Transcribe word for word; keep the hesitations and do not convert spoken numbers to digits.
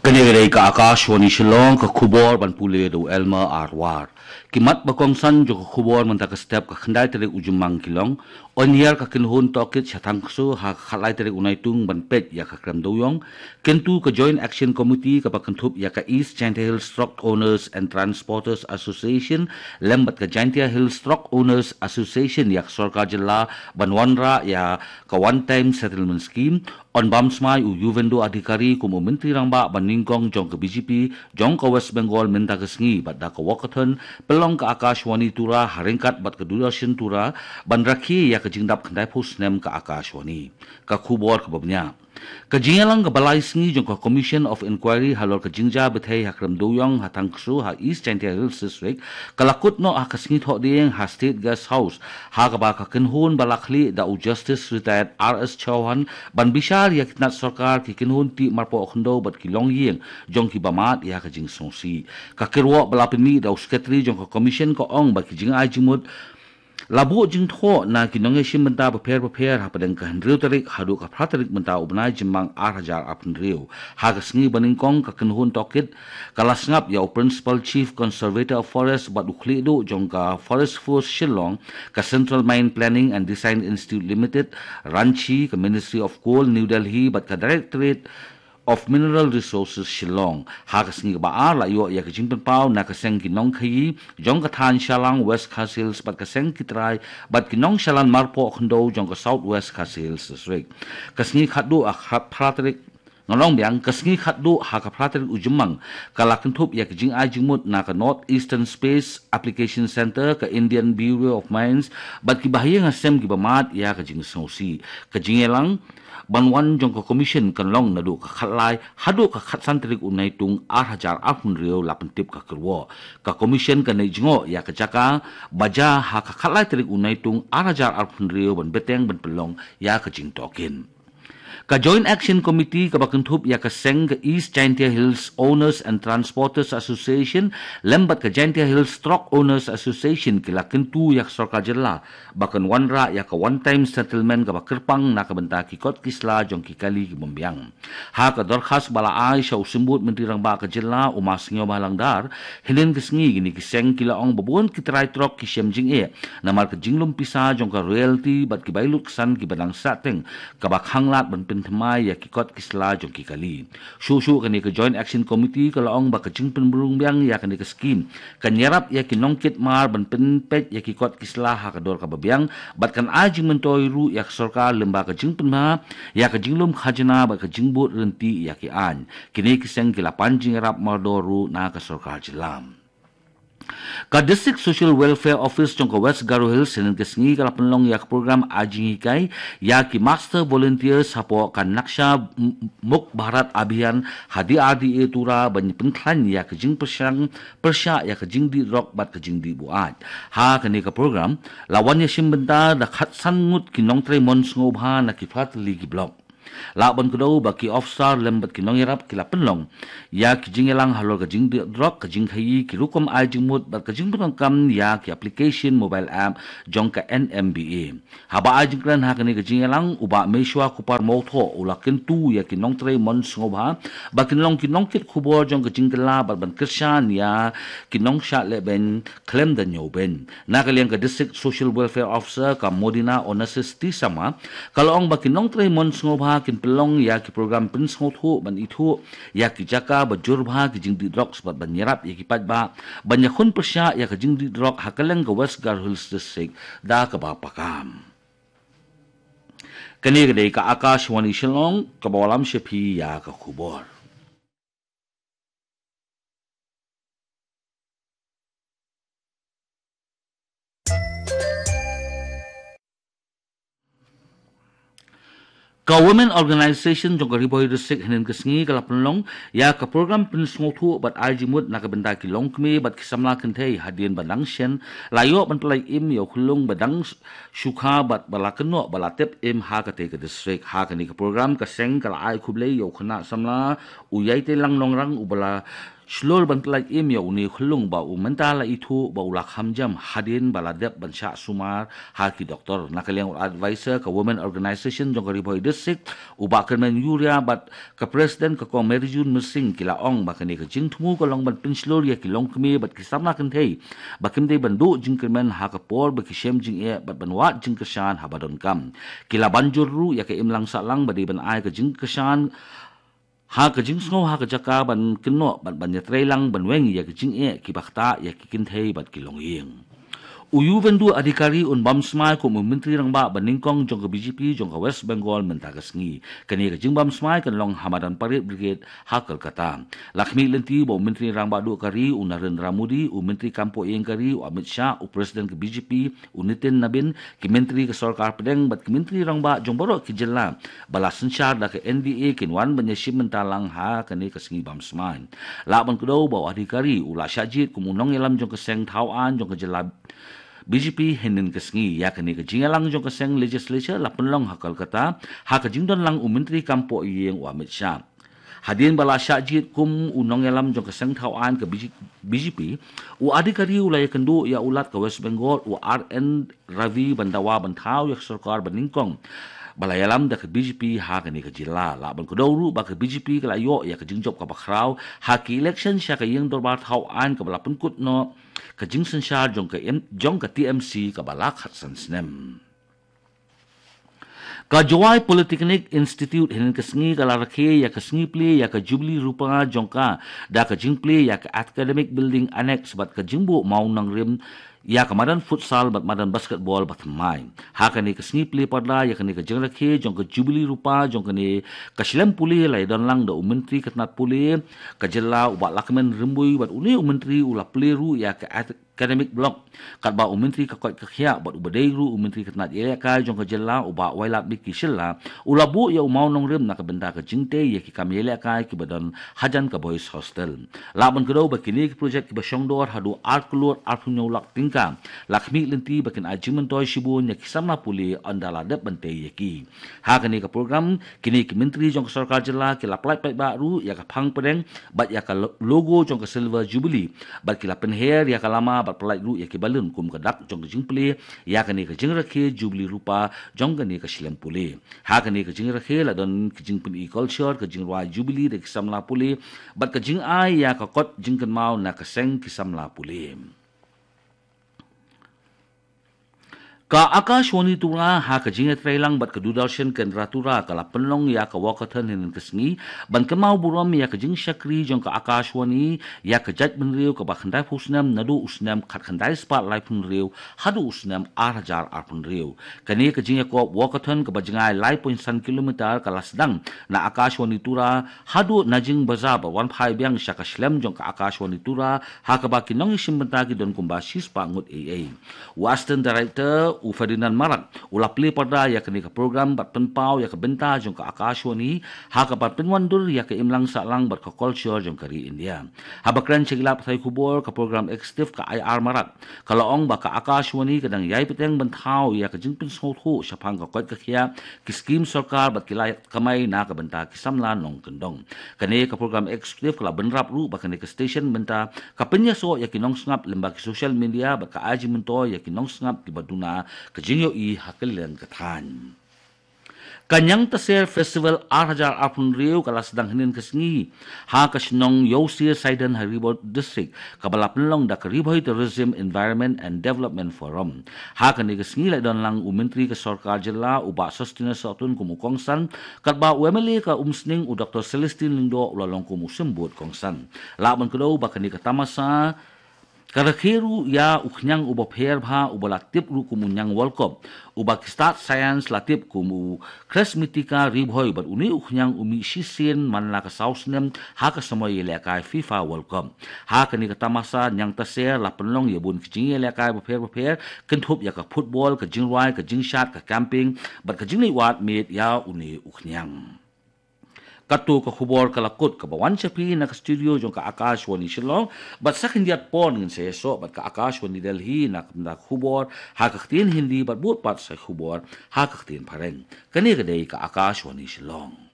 Kane ka dei ka Akashvani Shillong, ka khubor ban pule da u Elmer Arwar. Ki mat ba kongsan jong ka khubor mynta ka step ka khyndai tarik u Jymmang ki long: Oniar ka kynhun tohkit sha Thangkso ha ka khatlai tarik u Naitung ban peit ïa ka krem dewïong. Kyntu ka Joint Action Committee kaba kynthup ïa ka East Jaintia Hills Truck Owners and Transporters Association lem bad ka Jaintia Hills Truck Owners Association ïa ka sorkar jylla ban wanrah ïa ka One Time Settlement Scheme. Yn bam smai u Yuvendra Adhikari kum u Myntri Rangbah ba nyngkong jong ka B J P jong ka West Bengal mynta ka sngi, bad da ka walkathon pynlong ka Akashvani Tura ha ryngkat bad ka Doordarshan Tura ban rakhe ïa ka jingdap khyndaiphew snem ka Akashvani. Ka khubor kaba bniah. Ka jingïalang kaba lai sngi jong ka Commission of Inquiry halor ka jingjia bthei ha krem dewïong ha Thangkso ha East Jaintia Hills District ka la kut noh ha ka sngi Thohdieng ha State Guest House, ha kaba ka kynhun ba la khlieh da u Justice Retired R S Chauhan ban bishar ïa ki tnat sorkar, ki kynhun tih marpoh khyndew bad ki longïing jong kiba mad ïa ka jingsngewsih. Ka kyrwoh ba la pynmih da u Secretary jong ka Commission ka ong ba ki jingai jingmut la buh jingthoh na ki nongïashim bynta bapher bapher hapdeng ka hynriew tarik haduh ka phra tarik mynta u bnai Jymmang ar hajar arphew hynriew. Ha ka sngi ba nyngkong ka kynhun tohkit ka la sngap ïa u Principal Chief Conservator of Forest bad u khlieh duh jong ka Forest Force Shillong, ka Central Mine Planning and Design Institute Limited, Ranchi, ka Ministry of Coal, New Delhi, bad ka Directorate of Mineral Resources Shillong. Ha ka sngi kaba ar la ïoh ïa ka jingpynpaw na ka seng ki nongkhaïi jong ka thaiñ Shallang West Khasi Hills bad ka seng ki trai bad ki nongshalan marpoh khyndew jong ka South West Khasi Hills District. Ka sngi khatduh ha ka phra tarik, nga ong biang, ka sngi khatduh ha ka phra tarik u Jymmang ka la kynthup ïa ka jingai jingmut na ka North Eastern Space Application Centre, ka Indian Bureau of Mines bad kiba ha ïing ha sem kiba mad ïa ka jingsngewsih. Ka jingïalang ban wan jong ka Commission kan long naduh ka khatlai haduh ka khatsan tarik u Naitung ar hajar arphew hynriew, la pyntip ka kyrwoh. Ka Commission kan leit jngoh ïa ka jaka ba jia ha ka khatlai tarik u Naitung ar hajar arphew hynriew ban bteng ban pynlong ïa ka jingtohkit. Ka Joint Action Committee kaba kynthup ïa ka seng ka East Jaintia Hills Owners and Transporters Association lem bad ka Jaintia Hills Truck Owners Association ki la kyntu ïa ka sorkar jylla ba kan wanrah ïa ka one time settlement kaba kyrpang na ka bynta ki kot ki sla jong ki kali ki bym biang. Ha ka dorkhas ba la ai sha u Symbud Myntri Rangbah ka jylla u Ma Sniawbhalang Dhar, hynnin ka sngi kine ki seng ki la ong ba bun ki trai trok ki shem jingeh namar ka jinglum pisa jong ka royalty bad ki bai lutksan kiba dang sahteng kaba khanglad ban pynthymmai ïa ki kot ki sla jong ki kali. Shuh shuh kane ka Joint Action Committee ka la ong ba ka jingpynrung biang ïa kane ka skim kan ïarap ïa ki nongkit mar ban pynpeit ïa ki kot ki sla ha ka dor kaba biang bad kan ai jingmyntoi ruh ïa ka sorkar lyngba ka jingpynbha ïa ka jinglum khajna bad ka jingbud ryntih ïa ki aiñ. Kine ki seng ki la pan jingïarap mardor ruh na ka sorkar jylla. Ka District Social Welfare Office jong ka West Garo Hills hynnin ka sngi ka la pynlong ïa ka program ai jinghikai ïa ki Master Volunteers hapoh ka Naksha M-, Mukt Bharat Abhiyan ha D R D A Tura ban pynkhlaiñ ïa ka jingpyrshang pyrshah ïa ka jingdih drok bad ka jingdih buaid. Ha kane ka program la wan ïashim bynta da khatsan ngut ki nongtrei mon sngewbha na ki phra tylli ki block. Lah ban kdew ba ki officer lem bad ki nongïarap ki la pynlong ïa ki jingïalang halor ka jingdih drok, ka jingkhaïi, ki rukom ai jingmut bad ka jingpyndonkam ïa ki application mobile app jong ka N M B A. Haba ai jingkren ha kane ka jingïalang, u Bah Meshwa Kupar Mawthoh u la kyntu ïa ki nongtrei mon sngewbha ba kin long ki nongkit khubor jong ka jingkylla bad ban kyrshan ïa ki nongshah lehbeiñ khlem da ñiewbeiñ. Na ka liang ka District Social Welfare Officer ka Modina Onassis T Sharma ka la ong ba ki nongtrei mon sngewbha kin pynlong ïa ki program pynsngewthuh ban ithuh ïa ki jaka ba jur bha ki jingdih drok bad ban ïarap ïa ki paidbah ban ïakhun pyrshah ïa ka jingdih drok ha kylleng ka West Garo Hills District da kaba paka. Kane ka dei ka Akashvani Shillong kaba wallam sha phi ïa ka khubor. Ka Women Organization jong ka Ri Bhoi District hynnin ka sngi ka la pynlong ïa ka program pynsngewthuh bad ai jingmut na ka bynta ki longkmie bad ki samla kynthei hadien ba dang shen la ïoh ban pynlait im ïa u khyllung ba dang shu kha bad ba la kynnoh ba la tep im ha katei ka district. Ha kane ka program ka seng ka la ai khublei ïa u khynnah samla u Ïaiteilang Nongrang uba la shlur ban pyllait im ïa une u khyllung ba u mynta la ithuh ba u la kham jam hadien ba la dep ban shah sumar ha ki doktor. Na ka liang u advisor ka Women Organization jong ka Ri Bhoi District, u Bah Kyrmen Uriah, bad ka President ka Kong Marijune Myrsing, ki la ong ba kane ka jingthmu ka long ban pynshlur ïa ki longkmie bad ki samla kynthei ba kim dei ban duh jingkyrmen ha ka por ba ki shem jingeh bad ban wad jingkyrshan haba donkam. Ki la ban jur ruh ïa ka imlang sahlang ba dei ban ai ka jingkyrshan ha ka jingsngew ha ka jaka ban kynnoh bad ban ïatreilang ban weng ïa ka jingeh kiba ktah ïa ki kynthei bad ki longïing. U Suvendu Adhikari un bam smai kum u Myntri Rangbah ba nyngkong jong ka B J P jong ka West Bengal mynta ka sngi. Kane ka jingbam smai kan long ha madan Parade Brigade ha Kolkata. La khmih lynti ba u Myntri Rangbah duh ka ri u Narendra Modi, u Myntri Kam Poh Ïing ka ri u Amit Shah, u President ka B J P u Nitin Nabin, ki Myntri ka Sorkar Pdeng bad ki Myntri Rangbah jong baroh ki jylla ba la synshar da ka N D A kin wan ban ïashim bynta lang ha kane ka sngi bam smai. Lah ban kdew ba u Adhikari u la shah jied kum u nongïalam jong ka seng thaw aiñ jong ka jylla B J P hynnin ka sngi. Ïa kane ka jingïalang jong ka seng legislature la pynlong ha Kolkata ha ka jingdon lang u Myntri Kam Poh Ïing u Amit Shah. Hadien ba la shah jied kum u nongïalam jong ka seng thaw aiñ ka B J P, u Adhikari u la ïakynduh ïa u Lat ka West Bengal u R N Ravi ban dawa ban thaw ïa ka sorkar ba nyngkong ba la ïalam da ka B J P ha kane ka jylla. Lah ban kdew ruh ba ka B J P ka la ïoh ïa ka jingjop kaba khraw ha ki election sha ka ïing dorbar thaw aiñ kaba la pynkut noh ka jingsynshar jong ka M-, jong ka T M C kaba la khatsan snem. Ka Jowai Polytechnic Institute hynnin ka sngi ka la rakhe ïa ka sngi plie ïa ka Jubilee Rupa jong ka da ka jingplie ïa ka Academic Building Annex bad ka jingbuh mawnongrim ïa ka madan futsal bad madan basketball ba thymmai. Ha kane ka sngi plie parda ïa kane ka jingrakhe jong ka Jubilee Rupa jong kane ka shlem pule la ïadon lang da u Myntri ka tnat pule ka jylla u Bah Lahkmen Rymbui bad une u Myntri u la plie ruh ïa ka Academic Block, katba u Myntri ka koit ka khiah bad uba dei ruh u Myntri ka tnat ïalehkai jong ka jylla u Bah Wailadmiki Shylla u la buh ïa u mawnongrim na ka bynta ka jingtei ïa ki kam ïalehkai kiba don hajan ka Boys Hostel. Lah ban kdew ba kine ki projek kiba shongdor haduh ar klur arphew hynñiew lak tyngka la khmih lynti ba kin ai jingmyntoi shibun ïa ki samla pule ynda la dep ban tei ïa ki. Ha kane ka program, kine ki Myntri jong ka sorkar jylla ki la pyllait paidbah ruh ïa ka phang pdeng bad ïa ka lo-, logo jong ka Silver Jubilee bad ki la pynher ïa ka lama bad pyllait ruh ïa ki balloon kum ka dak jong ka jingplie ïa kane ka jingrakhe Jubilee Rupa jong kane ka shlem pule. Ha kane ka jingrakhe la don ka jingpyni culture, ka jingrwai Jubilee da ki samla pule bad ka jingai ïa ka kot jingkynmaw na ka seng ki samla pule. Ka Akashvani Tura ha ka jingïatreilang bad ka Doordarshan Kendra Tura ka la pynlong ïa ka walkathon hynnin ka sngi ban kynmaw burom ïa ka jingshakri jong ka Akashvani ïa ka jaitbynriew kaba khyndai phew snem naduh u snem khatkhyndai spah laiphew hynriew haduh u snem ar hajar arphew hynriew. Kane ka jingïakop walkathon kaba jngai lai point san kilometer ka la sdang na Akashvani Tura haduh Najing Bazar bad wan phai biang sha ka shlem jong ka Akashvani Tura ha kaba ki nongïashim bynta ki don kumba shispah ngut ei ei. U Assistant Director u Ferdinand Marak u la plie parda ïa kane ka program bad pynpaw ïa ka bynta jong ka Akashvani ha kaba pynwandur ïa ka imlang sahlang bad ka culture jong ka ri India. Haba kren sha ki lad pathai khubor, ka program executive ka I R Marak ka la ong ba ka Akashvani ka dang ïai bteng ban thaw ïa ka jingpynsngewthuh shaphang ka koit ka khiah, ki skim sorkar bad ki lad kamai na ka bynta ki samla nongkyndong. Kane ka program executive ka la bynrap ruh ba kane ka station mynta ka pynïasoh ïa ki nongsngap lyngba ki social media bad ka ai jingmyntoi ïa ki nongsngap kiba duna ka jingïohi ha kylleng ka thaiñ. Ka Ñiangtaser Festival ar hajar arphew hynriew ka la sdang hynnin ka sngi ha ka shnong Ïewsier Saiden ha Ri Bhoi District, kaba la pynlong da ka Ri Bhoi Tourism Environment and Development Forum. Ha kane ka sngi la don lang u Myntri ka Sorkar Jylla u Bah Sosthenes Sohtun kum u kongsan, katba u M L A ka Umsning u Doctor Celestine Lyngdoh u la long kum u symbud kongsan. Lah ban kdew ba kane ka tamasa ka rakhe ruh ïa u khñiang uba pher bha uba la tip ruh kum u Ñiang World Cup, uba ki stad science la tip kum u Chresmitica Ri Bhoi bad une u khñiang u mih shisien man la ka saw snem ha ka samoi ïalehkai FIFA World Cup. Ha kane ka tamasa Ñiangtaser la pynlong ïa bun ki jingïalehkai bapher bapher, kynthup ïa ka football, ka jingrwai, ka jingshad, ka camping bad ka jingleit wad miet ïa une u khñiang. Kato ka khubor ka la kut, kaba wan sha phi na ka studio jong ka Akashvani Shillong, bad sa khyndiat por ngin sa ïasoh bad ka Akashvani Delhi na ka bynta khubor ha ka ktien Hindi bad bud pat sa khubor ha ka ktien Phareng. Kane ka dei ka Akashvani Shillong.